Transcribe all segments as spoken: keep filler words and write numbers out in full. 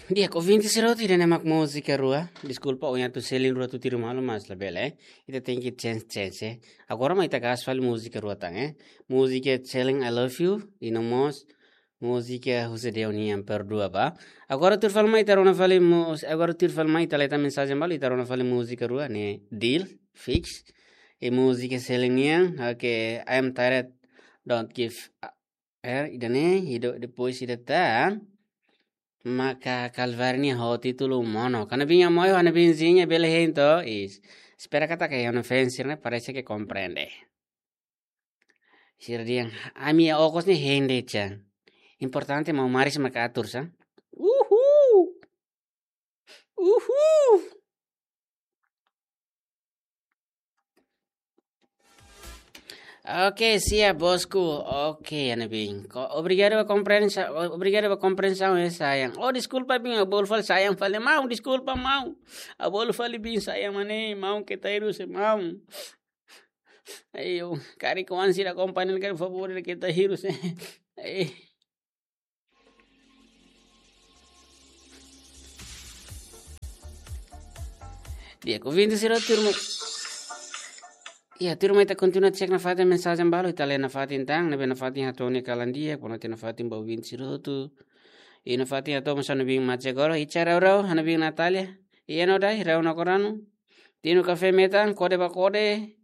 Di'ak, ouvinte sira hotu, ida-ne'e mak múzika rua. Deskulpa, ohin atu selling rua tuir malu, mas labele, eh. Ita tenke change, change, eh. Agora mak ita gas fali múzika rua tan, eh. Múzika Selling I Love You, i no mós múzika José Deo nian Perdua ba. Agora tuir fali mai ita rona fali mus-, agora tuir fali mai ita leta mensajen balu, ita rona fali múzika rua ne'e Deal, Fix. I múzika Selling nian, oke, I Am Tired, Don't Give Up. Eh, ida-ne'e, i do-, depois ida tan, maka Kalvari nia ho títulu Mono. Ha'u-nia biin Amoy, ha'u-nia biin Zinha, bele hein to, is. Espera katak ha'u-nia fans sira-ne'e parese ke komprende. Sira dehan, ami iha okos ne'e hein de'it. Importante maun Maris maka atur sa. Uhul! Uhul! Oke, siap, bosku. Oke, ha'u-nia biin. Ko-, obrigadu ba komprensa-, obrigadu ba komprensaun, eh, sayang. Oh, deskulpa, biin, ha'u bolu fali sayang fali. Maun, deskulpa, maun. Ha'u bolu fali biin sayang, mane, maun, keta hirus, eh, maun. Ayo, karik oan sira akompaña, karik favór, keta hirus, eh. Eh. Di'ak, ouvinte sira, turma. Iya, turma, ita kontinua cek nafatin mensajen balu, ita lee nafatin tan, ne'ebé nafatin hato'o ne'e kalan di'ak, bonoite nafatin ba ouvinte sira hotu. I nafatin hato'o mós ha'u-nia biin Mace Goro, Ica Rau Rau, ha'u-nia biin Natalia, Ian Odai, Rau Nakoranu, Tino Kafé Metan, Kode ba Kode,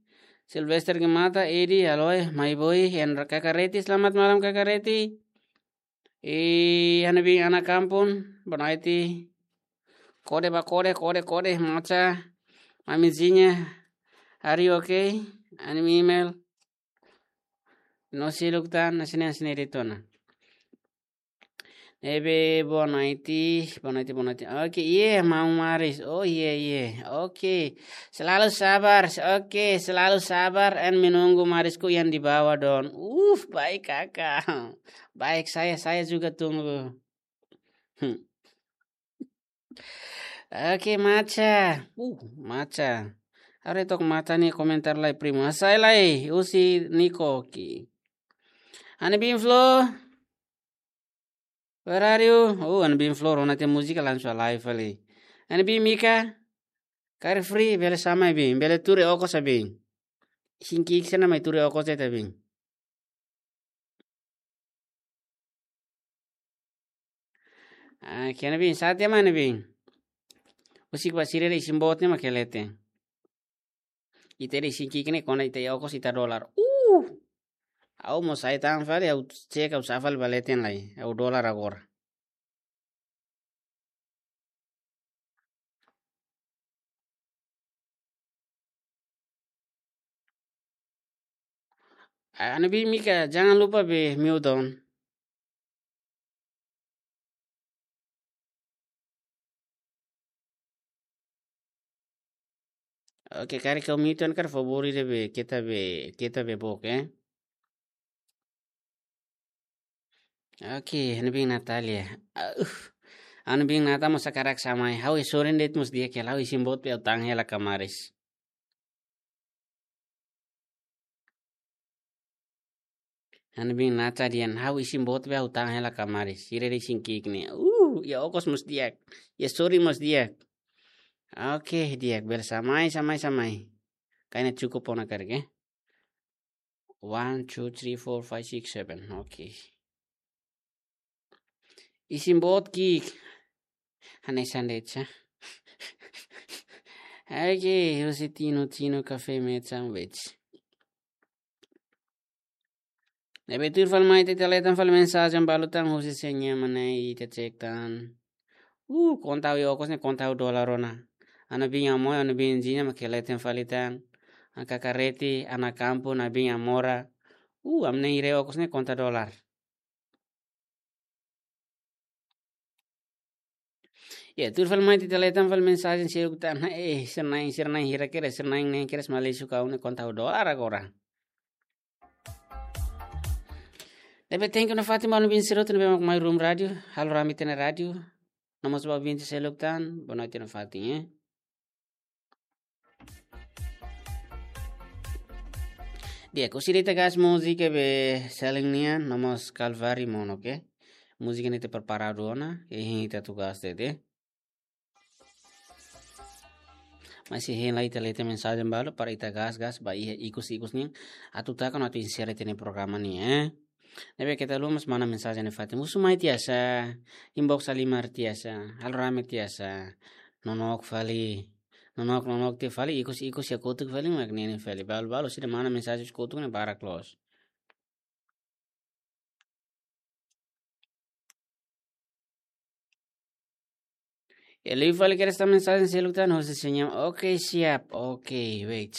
Sylvester Gemata, Edi, Aloy, Maiboi, Enra Kakareti, selamat malam Kakareti. I ha'u-nia biin Ana Kampung, bonoite. Kode ba Kode, Kode, Kode, Maca, Mami Zinha, are you okay? Ha'u-nia biin Mel. No seluk tan, hanesan ne'e, hanesan ne'e de'it ona. Ne'ebé, bonoite, bonoite, bonoite. Oke, iya, maun Maris. Oh, iya, iya. Oke. Selalu sabar. Oke, selalu sabar and menunggu Marisku yang di bawah, Don. Uf, baik, Kakak. Baik, saya, saya juga tunggu. Hmm. Oke, Maca. Uh, Maca. Haree tok Maca nia komentar lai, primo. Hasai lai, husi Niko ki. Ha'u-nia biin Flo. Where are you? Oh, ha'u-nia biin Flo, rona tiha múzika langsung live fali. Ha'u-nia biin Mika. Karik free, bele samai biin, bele tuur iha okos sa biin. Isin ki'ik sira-ne'e mai tuur iha okos de'it biin. Ah, ha'u-nia biin, sá tiha mak ha'u-nia biin. Husik ba sira iha isin boot ne'e mak ha'u leten. Ita iha isin ki'ik ne'e, kuandu ita iha okos ita dolar. Uh! Ha'u mós sai tan fali, ha'u cek ha'u sá fali ba leten lai. Ha'u dolar agora. Ah, ha'u-nia biin Mika, jangan lupa be mute on. Oke, karik ha'u mute on karik favór ida be, keta be, keta be book, eh. Oke, ha'u-nia biin Natalia. Ah, uh. Ha'u-nia biin Nata mós hakarak samai. Ha'u iha sorin de'it mós di'ak hela, ha'u isin boot be ha'u tan hela kamaris. Ha'u-nia biin Nata dehan, ha'u isin boot be ha'u tan hela kamaris. Sira iha isin ki'ik ne'e. Uh, iha okos mós di'ak. Iha sorin mós di'ak. Oke, di'ak, bele samai, samai, samai. Kayaknya cukup ona karik, eh. One, two, three, four, five, six, seven. Oke. Isin boot ki'ik. Hanesan de'it sa. Oke, husi Tino, Tino Cafe Meat Sandwich. Ne'ebé tuir fali mai ita leten fali mensajen balu tan husi seña mana ita cek tan. Uh, konta ha'u iha okos ne'e konta ha'u dolar ona. Ha'u-nia biin Amoy, ha'u-nia biin Zinha mak ha'u leten fali tan. Ha'u-nia Kakareti, Ana Kampung, ha'u-nia biin Amora. Uh, ami-nia iha okos ne'e konta dolar. Ya, tuir fali mai ita leten fali mensajen sira hotu tan. Eh, sira-na'in, sira-na'in hira kedas, sira-na'in ne'e kedas malisu kau ne'e konta ha'u dolar agora. Ne'ebé thank you nafatin ba ha'u-nia biin sira hotu ne'ebé mak mai Room Radio, halo rame tiha ona rádiu. No mós ba ouvinte seluk tan, bonoite nafatin, eh. Di'ak, husi ida ita gas múzika be Selling nian, no mós Kalvari Mono, oke? múzika ne'e ita preparadu ona, e hein ita atu gas de'it. Mas se hein lae ita lee tiha mensajen balu para ita gas gas ba iha ikus-ikus nian atu taka no atu enserra ita-nia programa nian, eh. Ne'ebé keta haluha mós mana mensajen ne'e fatin. Husu mai tiha sá, inbox halimar tiha sá, halo rame tiha sá. Nonook fali. Nonook, nonook tiha fali, ikus-ikus iha kotuk fali, mak ne'e ne'e fali. Balu-balu sira mana mensajen kotuk ne'e barak loos. Iha liu fali kedas tan mensajen seluk tan, hosi senyum. Oke, siap. Oke, wait.